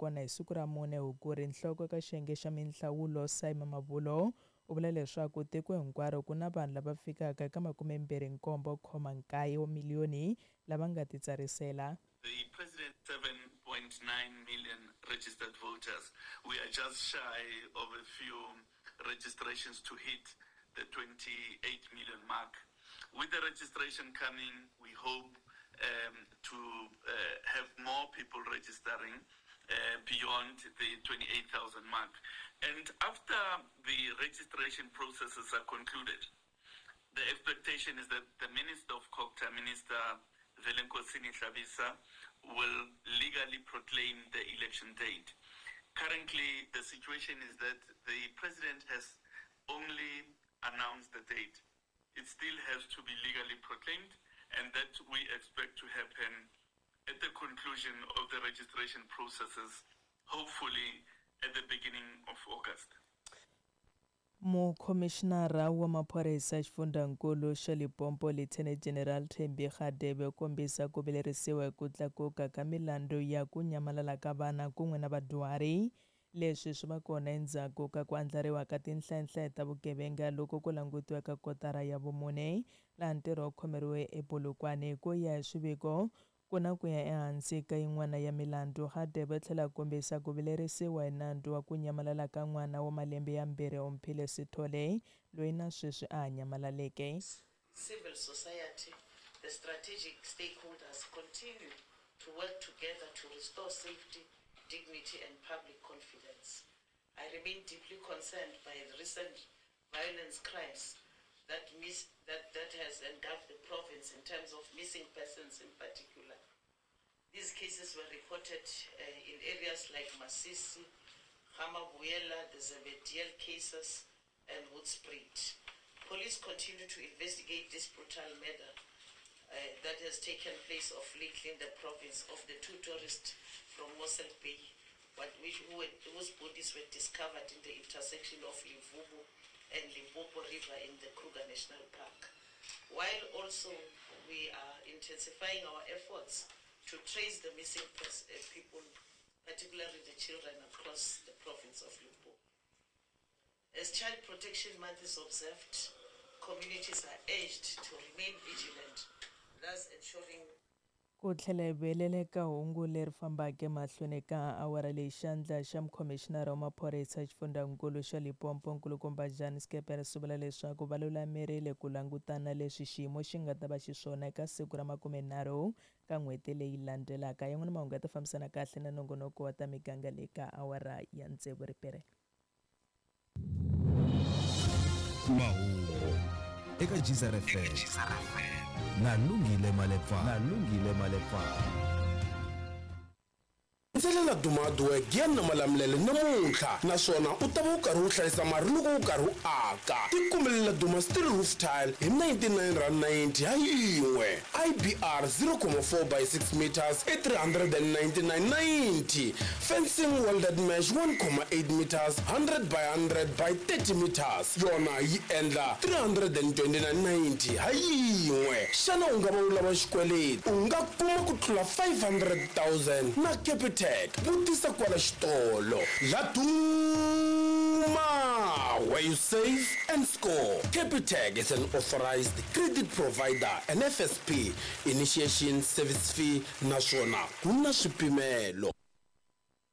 kona hi siku ra 4 Hukuri. Nhloko eka xiyenge xa minhlawulo Sy Mamabolo u vula leswaku tiko hinkwaro ku na vanhu lava fikaka eka 27.9 wa miliyoni lava nga titsarisela. The president 7.9 million registered voters. We are just shy of a few registrations to hit the 28 million mark. With the registration coming, we hope to have more people registering beyond the 28,000 mark. And after the registration processes are concluded, the expectation is that the Minister of COGTA, Minister Velenkosini Hlabisa, will legally proclaim the election date. Currently, the situation is that the president has only announced the date. It still has to be legally proclaimed, and that we expect to happen at the conclusion of the registration processes, hopefully at the beginning of August. Mukhomixinara wa maphorisa xifundzankulu xa Limpopo Lieutenant General Thembi Radebe u kombisa ku vilerisiwa hi ku tlakuka ka milandzu ya ku nyamalala ka vana kun'we na vadyuhari. Leswi swi va kona endzhaku ka ku andlariwa ka tinhlayanhlaya ta vugevenga loko ku langutiwa ka kotara ya vumune laha ntirho wu khomeriwe ePolokwane. Ku ya hi swiviko, ku na ku ya ehansi ka yin'wana ya milandzu. Radebe u tlhela a kombisa ku vilerisiwa hi nandzu wa ku nyamalala ka n'wana wa malembe ya 2 Omphile Sithole loyi na sweswi a ha nyamalaleke. Civil society, the strategic stakeholders continue to work together to restore safety, dignity and public confidence. I remain deeply concerned by the recent violence crimes that has engulfed the province in terms of missing persons in particular. These cases were reported in areas like Masisi, Gamabuyela, the Zebediela cases, and Hoedspruit. Police continue to investigate this brutal murder that has taken place of lately in the province of the 2 tourists from Mossel Bay, whose bodies were discovered in the intersection of Limpopo and Limpopo River in the Kruger National Park. While also we are intensifying our efforts to trace the missing people, particularly the children across the province of Limpopo. As Child Protection Month is observed, communities are urged to remain vigilant, thus ensuring Ku tlhela hi vuyelela eka hungu leri fambaka emahlweni ka awara leyi xandla xa mukhomixinara wa maphorisa xifundzankulu xa Limpopo nkulukumba Jan Scheepers u vula leswaku va lulamerile ku langutana leswi xiyimo xi nga ta va xiswona eka siku ra 30 ka n'hweti leyi landzelaka. Yan'wana mahungu ya ta fambisana kahle na nongonoko wa ta miganga leyi ka awara ya 6 ripere. Mahungu eka Geyser FM na Lungile Malepa. Ndzelela Duma Hardware Giyani na Malamulele namuntlha naswona u ta va u karhi u hlayisa mali loko u karhi u aka. Tikumelela Duma Steel Roof Tile hi R99.90 ha yin'we. IBR 0.4 by 6 meters i R399.90. Fencing welded mesh 1.8 meters 100 by 100 by 30 meters yona yi endla R329.90 ha yin'we. Xana u nga va u lava xikweleti? U nga kuma ku tlula 500,000 na Capitec. Vutisa kwala xitolo. Laduma, where you save and score. Capitec is an authorized credit provider and FSP initiation service fee naswona ku na swipimelo.